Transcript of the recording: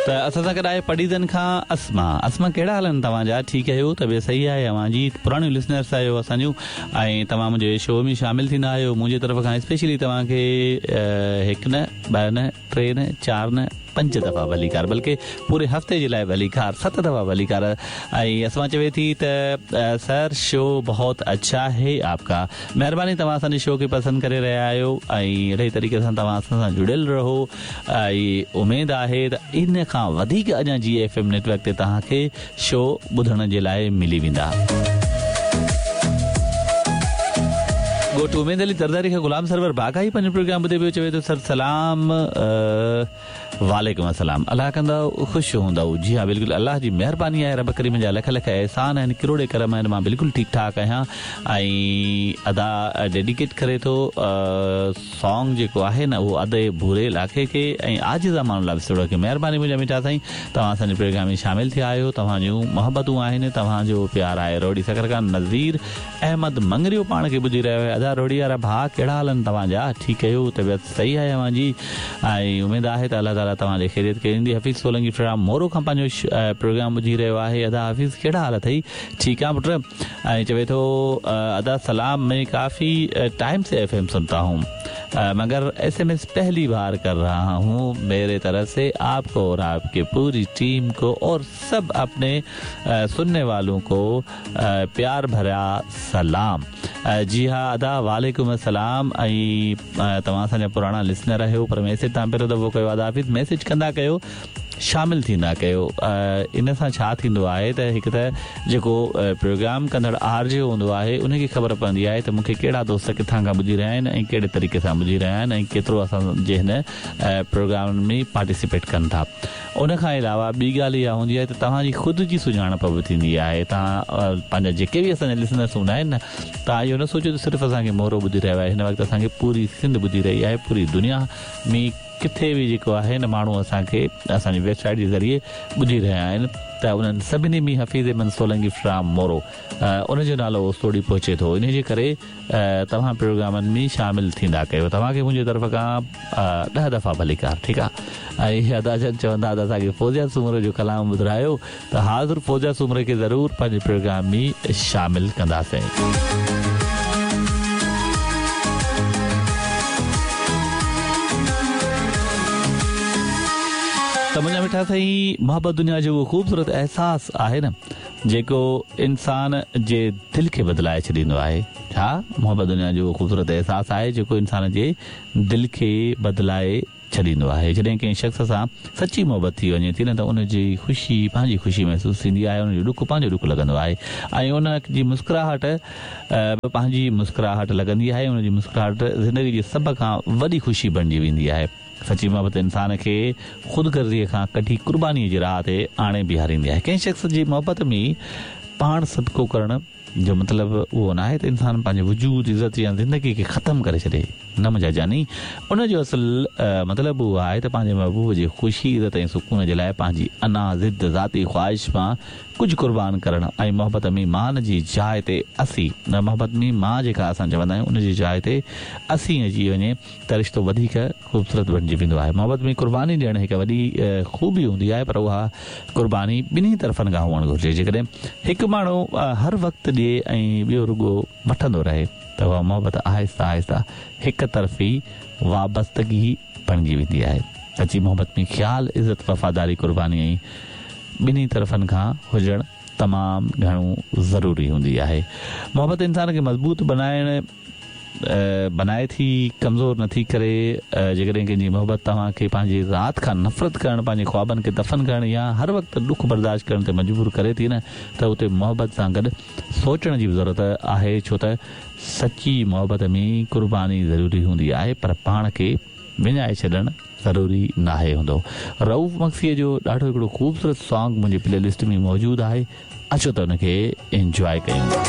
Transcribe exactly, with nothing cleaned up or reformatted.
ته اسان سان گڏ آهي پڊعيدن کان اسما. اسما ڪهڙا حال آهن توهان جا؟ ٺيڪ آهيو؟ طبيعت صحيح آهي اوهان جي؟ پراڻيون لسنرس آهيو اسان جون ۽ توهان منهنجي شو ۾ شامل ٿيندا آهيو. منهنجي طرف کان اسپيشلي توهان کي هڪ نه ٻه نه ٽي نه چار نه پنج دفعا ڀليڪار، بلڪه پوري هفتي جي لاءِ ڀليڪار، ست دفعا ڀليڪار. ۽ اسما چوي ٿي ته سر شو بهت اڇا هي آپ ڪا. مهرباني توهان اسان جي شو کي پسند ڪري رهيا آهيو ۽ اهڙي طريقي سان توهان اسان سان جڙيل رهو ۽ اميد آهي ته ان کان وڌيڪ اڃا جي ايف ايم نيٽ ورڪ تي توهان کي شو ٻڌڻ جي لاءِ ملي ويندا. ڳوٺ اميد علي زرداري کان غلام سرور باغائي پنهنجو پروگرام ٻڌي پيو، چوي ٿو سر سلام. وعليڪم السلام، الله ڪندو خوش هوندؤ. جي ها بلڪل، الله جي مهرباني آهي، رب ڪريم جا لک لک احسان آهن، ڪروڙي ڪرم آهن، مان بلڪل ٺيڪ ٺاڪ آهيان. ۽ ادا ڊيڊيڪيٽ ڪري ٿو سانگ جيڪو آهي نه اهو ادي ڀوري لاکي کي ۽ عاجز امان الله وسوڙو کي. مهرباني منهنجا مٺا سائين، توهان اسان جي پروگرام ۾ شامل ٿيا آهيو، توهان جون محبتون آهن، توهان جو پيار آهي. روهڙي سکر کان نذير احمد مڱريو پاڻ کي ٻڌي رهيو آهي. ادا روهڙي وارا ڀاء ڪهڙا حال آهن توهان جا؟ ٺيڪ آهيو؟ طبيعت صحيح آهي اوهان جي؟ ۽ اميد آهي ته الله تعاليٰ توهان جي خيريت ڪندي. حفيظ سولنگي فرام مورو کان پنهنجو پروگرام ٻڌي رهيو آهي. ادا حفيظ ڪهڙا حال اٿئي؟ ٺيڪ آهيان پٽ. ۽ چوي ٿو ادا سلام، مين ڪافي ٽائيم سي ايف ايم سنتا هون مگر ايس ايم ايس پهلي بار ڪر رها هون. ميري طرف سي آپ ڪو اور آپ ڪي پوري ٽيم ڪو اور سب اپني سنني والون ڪو پيار ڀريا سلام. جي ها ادا وعليڪم السلام. ۽ توهان اسان جا پراڻا لسنر آهيو پر ميسيج توهان پهريون دفعو ڪيو. ادا حفيظ ميسيج ڪندا ڪيو، شامل ٿيندا ڪيو. ان سان ڇا ٿيندو آهي ته هڪ ته جيڪو پروگرام ڪندڙ آر جي هوندو آهي ان کي خبر پوندي آهي ته مون کي ڪهڙا دوست ڪٿان کان ٻڌي رهيا آهن ۽ ڪهڙي طريقي سان ٻڌي رهيا آهن ۽ ڪيترو اسان جي هن پروگرام ۾ پارٽيسپيٽ ڪن ٿا. ان کان علاوه ٻي ڳالهه اها هوندي آهي ته توهان جي خود جي سڃاڻپ به ٿيندي آهي. توهان پنهنجا جيڪي به اسان جا لسنرس هوندا آهن نه، توهان اهو نه سوچيو ته صرف اسان کي مورو ٻڌي رهيو آهي. هن وقت اسان کي پوري سنڌ ٻڌي رهي آهي، پوري دنيا ۾ ڪٿي به جيڪو آهي نه ماڻهو اسان کي اسان جي ويب سائيٽ جي ذريعي ٻڌي رهيا آهن ته انهن سڀني ۾ حفيظ احمد سولنگي فرام مورو ان جو نالو اوستوڙي پهچي ٿو. ان جي ڪري توهان پروگرامن ۾ شامل ٿيندا ڪيو. توهان کي منهنجي طرف کان ڏهه دفعا ڀليڪار. ٺيڪ آهي. ۽ ادا جن چوندا ته اسان کي فوزيا سومرو جو ڪلام ٻڌرايو ته حاضر فوزيا سومري کي ضرور پنهنجي پروگرام ۾ شامل ڪنداسين. ته منهنجا مٺا سائين، محبت دنيا جو اهو خوبصورت احساس آهي نه جيڪو انسان جي دل کي بدلائي ڇڏيندو آهي. ها محبت دنيا جو اهو خوبصورت احساس آهي جيڪو انسان جي دل کي بدلائي ڇڏيندو آهي. جڏهن ڪنهن شخص سان سچي محبت ٿي وڃي ٿي نه ته ان جي خوشي پنهنجي خوشي محسوس ٿيندي آهي، ان جو ڏک پنهنجو ڏک لڳندو آهي ۽ ان جي مسڪراهٽ به پنهنجي مسڪراهٽ لڳندي آهي. ان جي مسڪراهٽ زندگي جي سڀ کان وڏي خوشي بڻجي ويندي آهي. سچي محبت انسان کي خود غرضيءَ کان ڪڍي قربانيءَ جي راهه تي آڻي بيهاريندي آهي. ڪنهن شخص جي محبت ۾ پاڻ صدقو ڪرڻ جو مطلب اهو نه آهي ته انسان پنهنجي وجود، عزت يا زندگي کي ختم ڪري ڇڏي. نه منهنجا جاني، ان جو اصل مطلب اهو آهي ته پنهنجي محبوب جي خوشي، عزت ۽ سڪون جي لاءِ پنهنجي انا، ضد، ذاتي خواهش مان ڪجهه قربان ڪرڻ ۽ محبت ۾ مان جي جاءِ تي اسين، محبت ۾ مان جيڪا اسان چوندا آهيون ان جي جاءِ تي اسين اچي وڃي ته رشتو وڌيڪ خوبصورت بڻجي ويندو آهي. محبت ۾ قرباني ڏيڻ هڪ وڏي خوبي هوندي آهي پر اها قرباني ٻنهي طرفن کان هئڻ گهرجي. جيڪڏهن هڪ ماڻهو هر وقت ڏئي ۽ ٻيو رڳو وٺندو رهي ته اها محبت آهستي آهستي هڪ طرفي وابستگي بڻجي ويندي آهي. سچي محبت ۾ خيال، عزت، وفاداري، قرباني ۽ ٻنهي طرفن کان هجڻ تمام گهڻو ضروري هوندي آهي. محبت انسان کي مضبوط بنائڻ بنائي ٿي، ڪمزور نٿي ڪري. جيڪڏهن ڪنهن جي محبت توهان کي پنهنجي ذات کان نفرت ڪرڻ، پنهنجي خوابن کي دفن ڪرڻ يا هر وقت ڏک برداشت ڪرڻ تي مجبور ڪري ٿي نه ته اتي محبت سان گڏ سوچڻ جي به ضرورت آهي، ڇو ته سچي محبت ۾ قرباني ضروري هوندي آهي پر پاڻ کي وڃائي ڇڏڻ ضروري ناهي هوندو. رئوف مگسيءَ جو ڏاڍو هڪڙو خوبصورت سانگ منهنجي پلي لسٽ ۾ موجود آهي، اچو ته ان کي انجواءِ ڪيون.